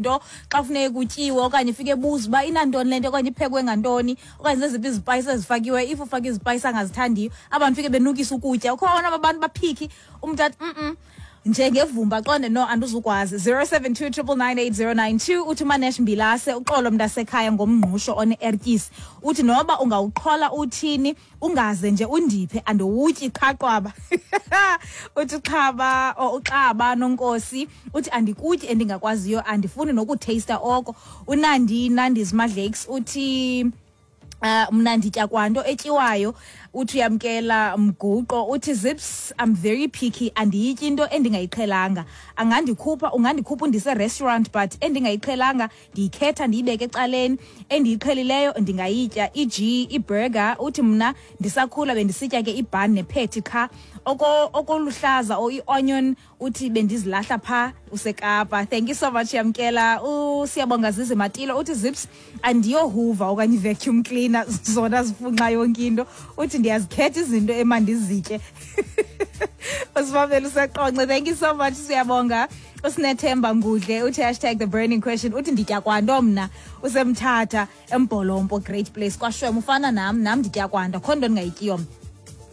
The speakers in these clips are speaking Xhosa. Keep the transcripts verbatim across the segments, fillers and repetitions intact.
izinto xa kufuneka kutyiwe, okanye ifike ebuza uba inantoni le nto, okanye iphekwe ngantoni, okanye zeziphi izipayisi ezifakiweyo. If ufake izipayisi angazithandiyo, abantu fike benukisa ukutya. Ukhona abantu baphiki, umntu athi mm njengevumba, qonde no andizukwazi. zero seven two triple nine eight zero nine two uthi Manesh Mbilase, uxolo mntasekhaya ngomngqusho one-ertyisi. Uthi noba ungawuqhola uthini, ungaze nje undiphe, andiwutyi qhaqwaba. Uthi xhaba or uxaba nonkosi, uthi andikutyi endingakwaziyo, andifuni nokutheyista oko. Unandi Nandis Madlakes uthi Uh, mna nditya kwanto etyiwayo. Uthi uyamkela mguqo, uthi Zips, I'm very picky, andiyityi into endingayiqhelanga. Angandikhupha, ungandikhupha undise restaurant, but endingayiqhelanga ndiyikhetha ndiyibeke ecaleni, endiyiqhelileyo ndingayitya. E G iburger, uthi mna ndisakhula bendisitya ke ibun nephetty qha, oko okoluhlaza or ionion uthi bendizilahla pha useKapa. Thank you so much yamkela. Usiyabonga Zizi Matilo uthi Zips, andiyohuva okanye vacuum cleaner zona zifunxa yonke into, uthi ndiyazikhetha izinto emandizitye. Usibabele useqonce. Thank you so much siyabonga. Usinethemba Ngudle uthi hashtag the burning question, uthi nditya kwanto mna. Usemthatha eMbholompo, great place kwaShwem, ufana nam, nam nditya kwanto, akho nto ndingayityiyo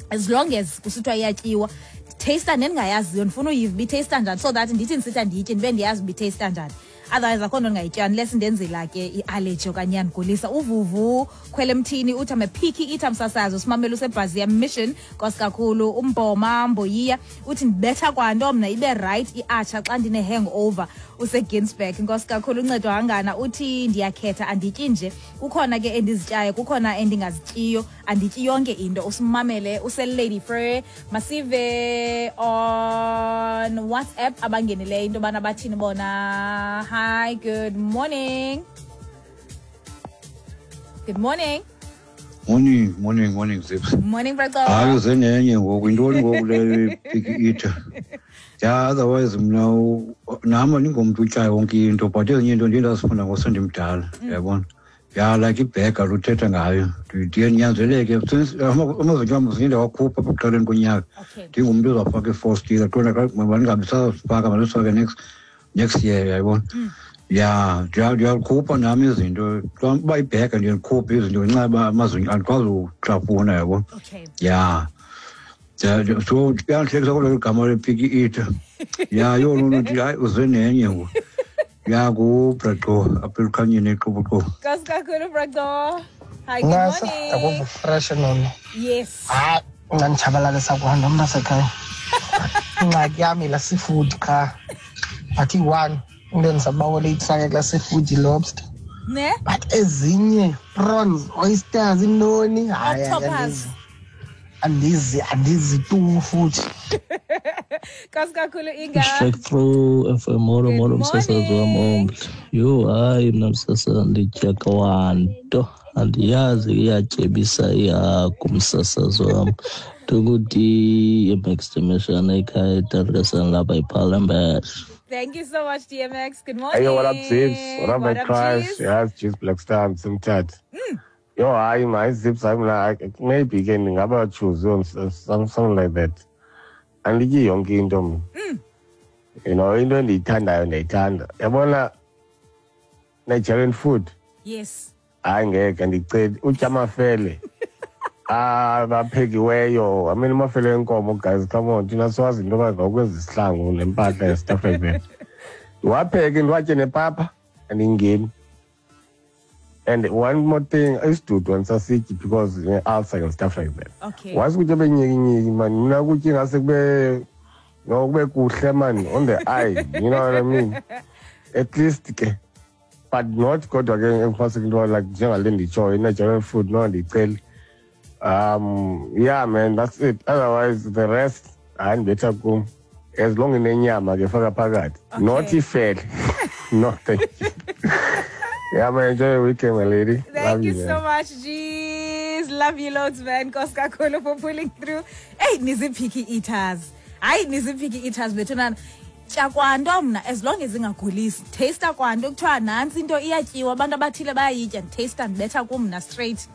as long as kusithiwa iyatyiwa. Taster nendingayaziyo, ndifuna uyiva uba itheyista njani, so that ndithi ndisithi andiyityi ndibe ndiyazi uba itheyista njani. Otherwise akho nto ndingayitya unless ndenzela ke i-allergy okanye iyandigulisa. Uvuvu khwele emthini uthi I'm a picky eater msasazi. Usimamele useBrazil Mission, nkosi kakhulu. Umboma Mboyiya uthi ndibetha kwanto mna, ibe right i-atsha xa ndine-hangover. Useginsberg, nkosi kakhulu. Uncedo Hangana uthi ndiyakhetha, andityi nje, kukhona ke endizityayo, kukhona endingazityiyo, andityi yonke into. Usimamele useLady Frere. Masive on WhatsApp abangenileyo into yobana bathini bona. Hi, good morning. Good morning. Morning, morning, morning, Zips. Morning, brother. Hayi uzenenye ngoku, intoni ngoku le picky eater. Yeah, otherwise mna nami ndingumntu utyayo yonke into, but ezinye into ndiye ndazifunda ngosendimdala, uyabona. Yeah, like ibhega luthetha ngayo. Ndiye ndinyanzeleke since amazinyo am ndiye ndawakhupha apha ekuqaleni konyaka. Ndingumntu ozawufaka i-four steel, qonda mandingabi sazifaka, mandisifake next next year, uyayibona. Yeah, ndiyakhupha nami izinto. Uba ibhega ndiye ndikhuphe izinto ngenxa yoba amazinyo andikwazi uhlafuna, uyabona. Yeah. So kuyandihlekisa kodwa igama le-picky eater. Yeah, yho loo nto ndithi hayi uze nenye ngoku. Yeah, nguBraqo apha elukhanyeni eQoboqobo. Nkosi kakhulu Braqo. Hi, good Nasa, morning. akuve fresh nono. Yes. Hayi, unganditshabalalisa kwanto mntasekhaya. Ingxaki yam yilaa seafood qha. But iyi-one into endizabawela uyifake kulaa seafood, yi-lobster. Ne? But ezinye prawns, oysters, intoni, hayi, Octopus. andizi. Andizi, andizi tu futhi. Nkosi kakhulu Inga. Straight through F M, molo molo msasazi wam omhle. Yho hayi mna msasazi nditya kwanto, andiyazi iyatyebisa ihagu msasazi wam. Ndingu-D M X Dimeshana ekhaya eTarkasana lapha ePalembes. Thank you so much, D M X. Good morning. Hey, what up, Zips? What up, What my up, crush? G's? Yes, G's Black Star, Msimthatha. Mm. Yo, hayi, my Zips, I'm like, maybe ke ndingaba choose some, something like that. Andityi yonke into mna. Mm. You know, into endiyithandayo ndiyayithanda. Yabona Nigerian food. Yes. Hayi ngeke ndiceli utya amafele. Ah, baphekiweyo. I mean, amafele enkomo, guys, come on. Thina siwazi into yoba ngawukwenza isihlangu nempahla and stuff like that. Ndiwapheke ndiwatye nepapa andingeni. And one more thing, isidudu andisasityi because ne-ulcer and stuff like that. Okay. Wazi ukutya benyikinyiki, man. Mna ukutya ingase kube, no, kube kuhle, man, on the eye. You know what I mean? At least ke. But not kodwa ke engiphase into like njengale nditshoyo, i-Nigerian food, no, andiyiceli. Um, yeah, man, that's it. Otherwise, the rest, andibetha kum. As long inenyama ke faka phakathi. Okay. Not ifele. No, thank you. Yeah, man, enjoy your weekend, my lady. Thank Love you, you, so man. much, G's. Love you loads, man. Nkosi kakhulu for pulling through. Hey, nizipicky eaters. Hayi, nizipicky eaters bethunana. Tya kwanto mna, as long as ingagulisi. Taste kwanto kuthiwa nantsi into iyatyiwa, abantu abathile bayayitya. Taste ndibetha kum mna straight.